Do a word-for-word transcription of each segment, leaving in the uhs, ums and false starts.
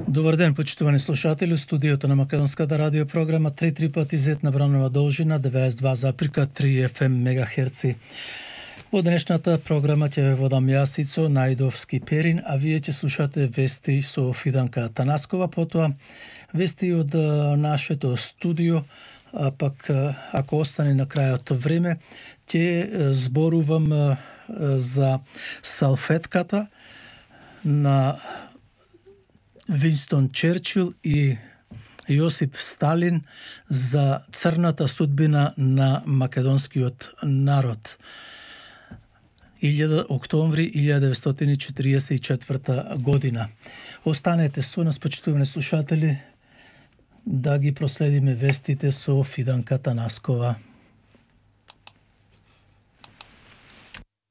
Добар ден, почитувани слушатели, студиото на Македонската радио програма три три пати зет на Бранова должина деветдесет и два запирка три еф ем мегахерци. Во денешната програма ќе ве водам јас Ицо Најдовски Перин, а вие ќе слушате вести со Фиданка Танаскова, потоа вести од нашето студио, а пак ако остане на крајот време, ќе зборувам за салфетката на Винстон Черчил и Јосип Сталин за црната судбина на македонскиот народ. илјада октомври илјада деветстотини четиридесет и четврта година. Останете со нас, почитувани слушатели, да ги проследиме вестите со Фиданка Танаскова.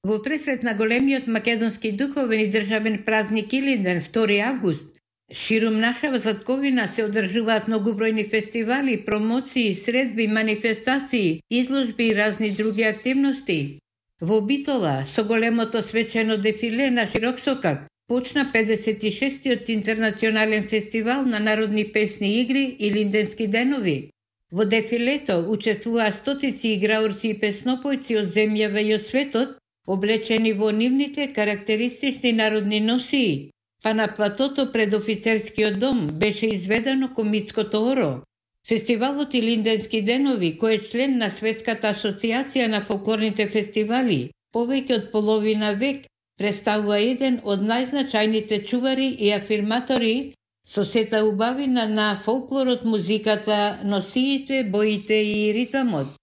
Во пресрет на големиот македонски духовен и државен празник Илинден, втори август, ширум нашава затковина се одржуваат многобројни фестивали, промоции, средби, манифестации, изложби и разни други активности. Во Битола, со големото свечено дефиле на широксокак, почна педесет и шестиот интернационален фестивал на народни песни игри Илинденски денови. Во дефилето учествуваа стотици играурци и песнопојци од земјава и од светот, облечени во нивните карактеристични народни носии, па на платото пред офицерскиот дом беше изведено комитското оро. Фестивалот Илинденски денови, кој е член на Светската асоциација на фолклорните фестивали, повеќе од половина век, представува еден од најзначајните чувари и афирматори со сета убавина на фолклорот, музиката, носиите, боите и ритамот.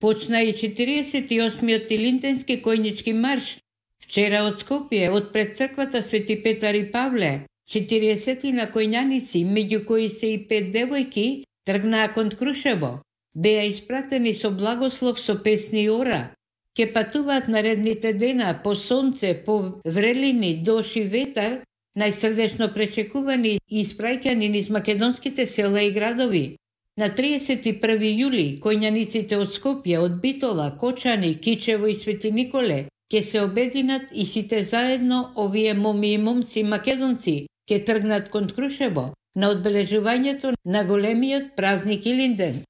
Почна и четиридесет и осмиот Илинденски којнички марш, вчера од Скопје, од пред црквата Свети Петар и Павле, четириесетина којњаници, меѓу кои се и пет девојки, тргнаа кон Крушево. Беа испратени со благослов со песни и ора. Ке патуваат наредните дена по сонце, по врелини, дош и ветар, најсрдечно пречекувани и испраќани низ македонските села и градови. На триесет и први јули, којњаниците од Скопје, од Битола, Кочани, Кичево и Свети Николе ќе се обединат и сите заедно овие моми и момци македонци ќе тргнат кон Крушево на одбележувањето на големиот празник Илинден.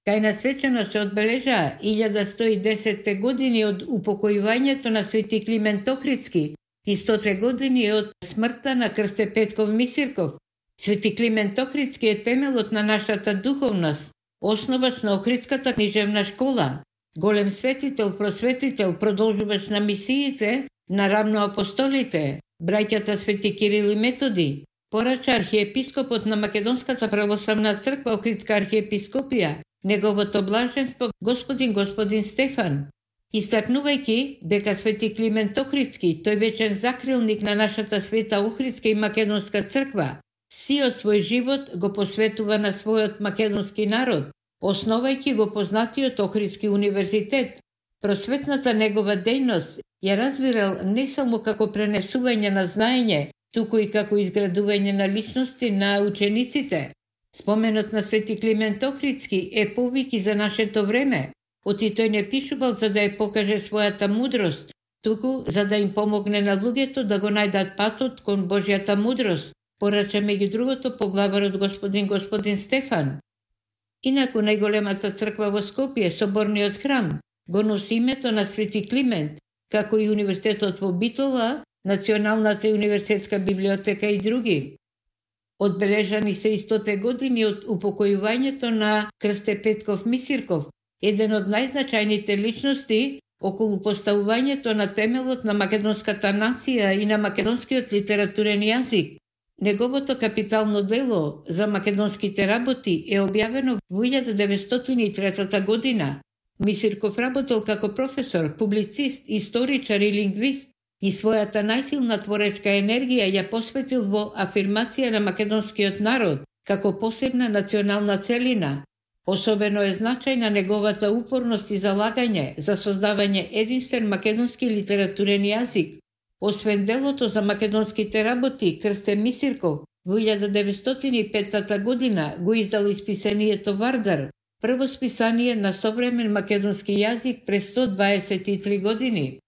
Кај на свечено се одбележаа илјада сто и десетте години од упокојувањето на Свети Климент Охридски и стоте години од смртта на крсте Петков Мисирков. Свети Климент Охридски е темелот на нашата духовност, основач на Охридската книжевна школа, голем светител, просветител, продолжувач на мисиите на рамноапостолите, браќата Свети Кирил и Методи, порача архиепископот на Македонската православна црква Охридска архиепископија, неговото блаженство господин господин Стефан, истакнувајќи дека Свети Климент Охридски, тој вечен закрилник на нашата света Охридска и Македонска црква, сиот свој живот го посветува на својот македонски народ, основајќи го познатиот Охридски универзитет. Просветната негова дејност ја развирал не само како пренесување на знаење, туку и како изградување на личности на учениците. Споменот на Свети Климент Охридски е повики за нашето време. Оти тој не пишувал за да ја покаже својата мудрост, туку за да им помогне на луѓето да го најдат патот кон Божјата мудрост, порача меѓу другото поглаварот господин господин Стефан. Инаку најголемата црква во Скопје, соборниот храм, го носи името на Свети Климент, како и универзитетот во Битола, Националната и университетска библиотека и други. Одбележани се и стоте години од упокојувањето на крсте Петков Мисирков, еден од најзначајните личности околу поставувањето на темелот на македонската нација и на македонскиот литературен јазик. Неговото капитално дело за македонските работи е објавено во илјада деветстотини и трета година. Мисирков работел како професор, публицист, историчар и лингвист и својата најсилна творечка енергија ја посветил во афирмација на македонскиот народ како посебна национална целина. Особено е значајна неговата упорност и залагање за создавање единствен македонски литературен јазик. Освен делото за македонските работи, Крсте Мисирков во илјада деветстотини и пета година го издал исписанието Вардар, прво списание на современ македонски јазик през сто дваесет и три години.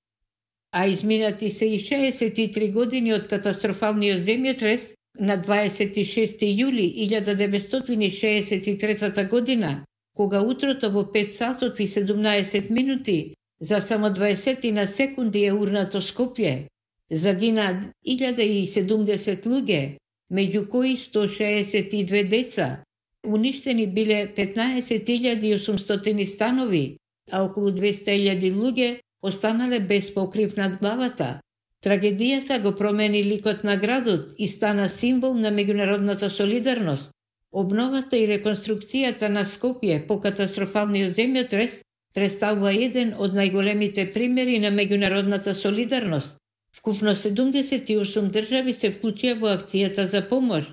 А изминати се и шеесет и три години од катастрофалниот земјотрес, на дваесет и шести јули илјада деветстотини шеесет и трета година, кога утрото во пет сатот и седумнаесет минути за само дваесет на секунди е урнато Скопје, загина илјада и седумдесет луѓе, меѓу кои сто шеесет и две деца. Уништени биле петнаесет илјади и осумстотини станови, а околу двеста илјади луѓе останале без покрив над главата. Трагедијата го промени ликот на градот и стана символ на меѓународната солидарност. Обновата и реконструкцијата на Скопје по катастрофалниот земјотрес представува еден од најголемите примери на меѓународната солидарност. Вкупно седумдесет и осум држави се вклучија во акцијата за помош.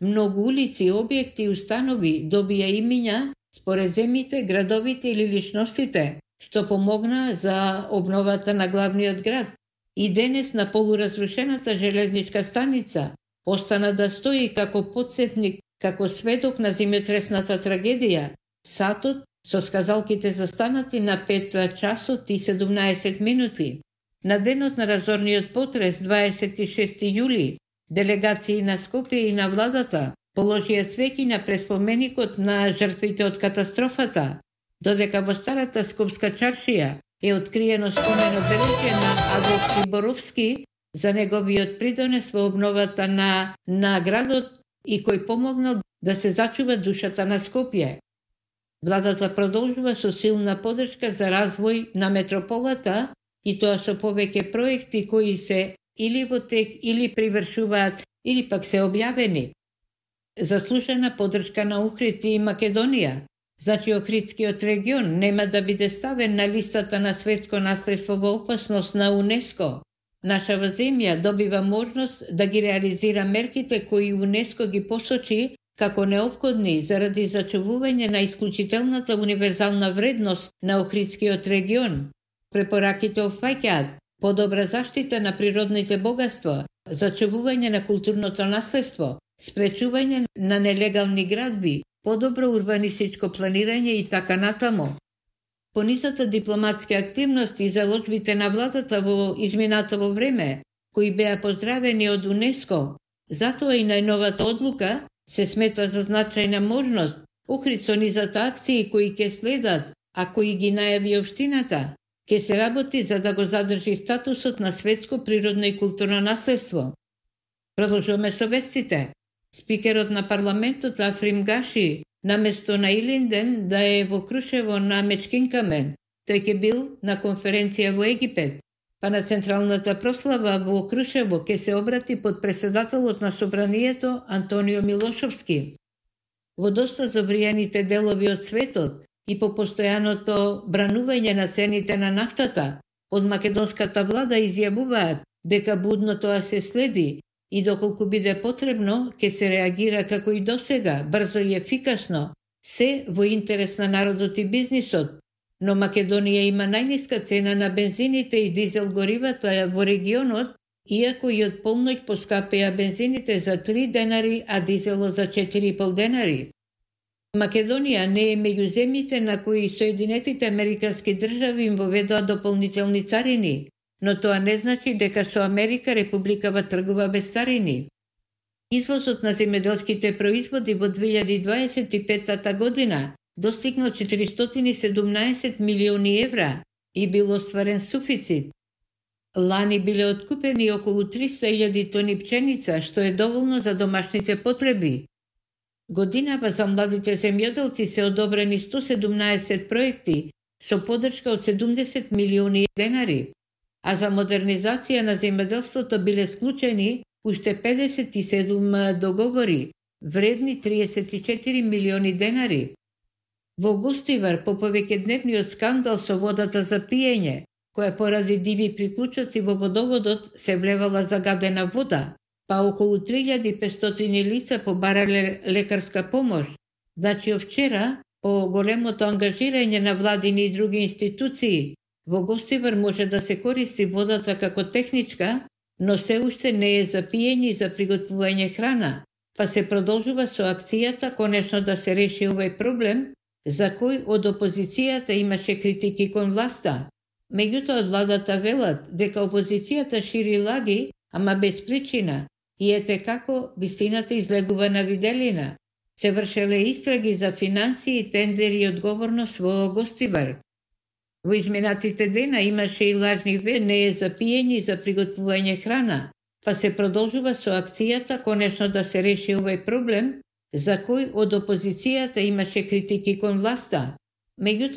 Многу улици, објекти и установи добија имиња според земите, градовите или личностите, што помогна за обновата на главниот град. И денес на полуразрушената железничка станица остана да стои како потсетник, како сведок на земјотресната трагедија, сатот со сказалките застанати на пет часот и седумнаесет минути. На денот на разорниот потрес, дваесет и шести јули, делегации на Скопје и на владата положија цвеќи на преспоменикот на жртвите од катастрофата, додека во старата скопска чаршија е откриено спомено бележе на Адолф Приборовски за неговиот придонес во обновата на, на градот и кој помогнал да се зачува душата на Скопје. Владата продолжува со силна поддршка за развој на метрополата и тоа со повеќе проекти кои се или во тек, или привршуваат, или пак се објавени. Заслужена поддршка на Охрид и Македонија. Значи Охридскиот регион нема да биде ставен на листата на светско наследство во опасност на УНЕСКО. Нашава земја добива можност да ги реализира мерките кои УНЕСКО ги посочи како неопходни заради зачувување на исклучителната универзална вредност на Охридскиот регион. Препораките опфаќаат подобра заштита на природните богатства, зачувување на културното наследство, спречување на нелегални градби, подобро урбанистичко планирање и така натаму. Понисата дипломатски активности и заложбите на владата во изминатово време, кои беа поздравени од УНЕСКО, затоа и најновата одлука се смета за значајна можност, Охрид со низата акции кои ќе следат, а кои ги најави општината, ќе се работи за да го задржи статусот на светско природно и културно наследство. Продолжуваме со вестите. Спикерот на парламентот Африм Гаши, наместо на Илинден да е во Крушево на Мечкинкамен, тој ќе бил на конференција во Египет, па на централната прослава во Крушево ќе се обрати под преседателот на собранието Антонио Милошовски. Во доста забријаните делови од светот и по постојаното бранување на цените на нафтата, од македонската влада изјавуваат дека будно тоа се следи и доколку биде потребно, ќе се реагира како и досега, брзо и ефикасно, се во интерес на народот и бизнисот. Но Македонија има најниска цена на бензините и дизел горивата во регионот, иако и од полноќ поскапеа бензините за три денари, а дизелот за четири и пол денари. Македонија не е меѓу земјите на кои Соединетите Американски држави им воведоа дополнителни царини, но тоа не значи дека со Америка републикава тргува без царини. Извозот на земјоделските производи во две илјади дваесет и пета година достигнал четиристотини и седумнаесет милиони евра и бил остварен суфицит. Лани биле откупени околу триста илјади тони пченица, што е доволно за домашните потреби. Годинава за младите земјоделци се одобрени сто седумнаесет проекти со поддршка од седумдесет милиони денари, а за модернизација на земјоделството биле склучени уште педесет и седум договори, вредни триесет и четири милиони денари. Во Гостивар, по повеќедневниот скандал со водата за пиење, која поради диви приклучоци во водоводот се влевала загадена вода, па околу три илјади и петстотини лица побарале лекарска помош. Значи, вчера, по големото ангажирање на владини и други институции, во Гостивар може да се користи водата како техничка, но се уште не е за пиење и за приготвување храна, па се продолжува со акцијата конечно да се реши овој проблем, за кој од опозицијата имаше критики кон власта. Меѓутоа од владата велат дека опозицијата шири лаги, ама без причина, И ете како вистината излегува на виделина. Се вршеле истраги за финансии, тендери и одговорност во Гостивар. Во изминатите дена имаше и лажни венеја за пиење и за приготвување храна, па се продолжува со акцијата конечно да се реши овој проблем, за кој од опозицијата имаше критики кон власта. Меѓутоа